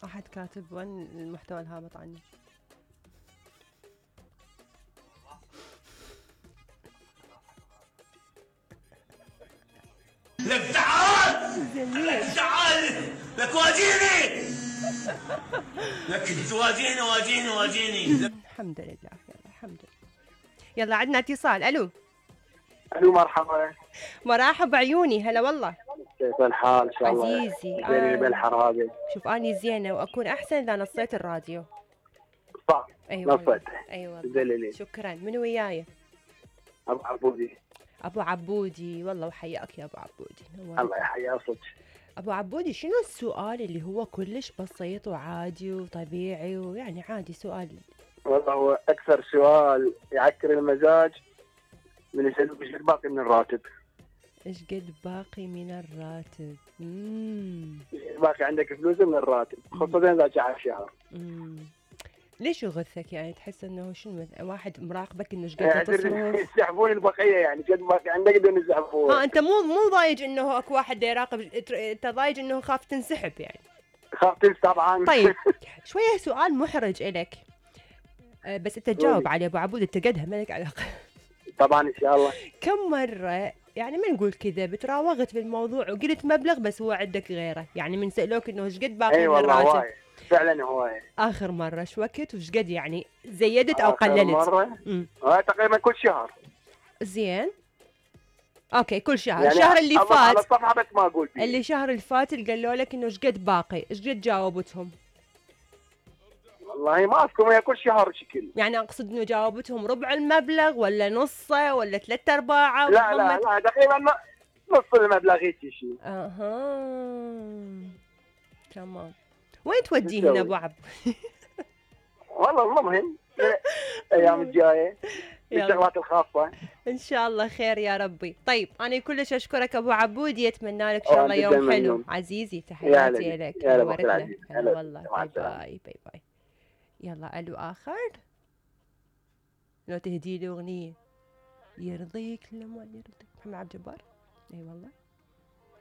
احد كاتب وين المحتوى الهابط عني. لك زعل زين زعل لك واجيني لك واجيني الحمد لله. يلا الحمد لله. يلا عندنا اتصال. الو مرحبا. مرحبا عيوني. هلا والله. كيف الحال؟ ان شاء الله عزيزي زيني بالحرابة. شوف اني زينه واكون احسن اذا نصيت الراديو. صح. ايوه ايوه دليلي. شكرا. من وياي؟ ابو عبودي. ابو عبودي والله وحياك يا ابو عبودي. الله يحيى صدق. ابو عبودي شنو السؤال اللي هو كلش بسيط وعادي وطبيعي ويعني عادي سؤال؟ والله هو اكثر سؤال يعكر المزاج من يسألوك ايش باقي من الراتب. ايش قد باقي من الراتب؟ باقي عندك فلوس من الراتب خصوصا اذا جاء الشهر. ليش يغثك يعني؟ تحس انه شنو واحد مراقبك انه ايش قد تصرف؟ يسحبون البقيه يعني قد باقي عندك بدهم يسحبون. انت مو ضايج انه اكو واحد يراقب، انت ضايج انه خاف تنسحب يعني. خاف تنسحب طبعا. طيب شويه سؤال محرج الك بس انت تجاوب عليه ابو عبود، انت قدها مالك علاقه. طبعا ان شاء الله. كم مره يعني ما نقول كذا بتراوغت بالموضوع وقلت مبلغ بس هو عندك غيره، يعني من سألوك انه ايش قد باقي من الراتب؟ فعلا هواية. اخر مره ايش وقت وش قد يعني زيدت او قللت؟ اخر مره تقريبا كل شهر. زين اوكي كل شهر يعني الشهر اللي فات على الصفحه بس ما اقول فيه. اللي شهر اللي فات اللي قالوا لك انه ايش قد باقي، ايش قد جاوبتهم؟ والله ما اذكر، هي كل شهر شكل. يعني اقصد انه جاوبتهم ربع المبلغ ولا نصه ولا 3/4؟ لا تقريبا نص المبلغ هيك شيء. تمام. وين توديهن ابو عبد؟ والله المهم الايام الجايه الشغلات الخاصه ان شاء الله خير يا ربي. طيب انا كلش اشكرك ابو عبودي، اتمنى لك ان شاء الله يوم حلو. عزيزي تحياتي لك. نورتنا. هلا والله. باي باي باي. يلا الو اخر. لو تهدي لي اغنيه يرضيك لما يرضيك محمد عبد الجبار. اي والله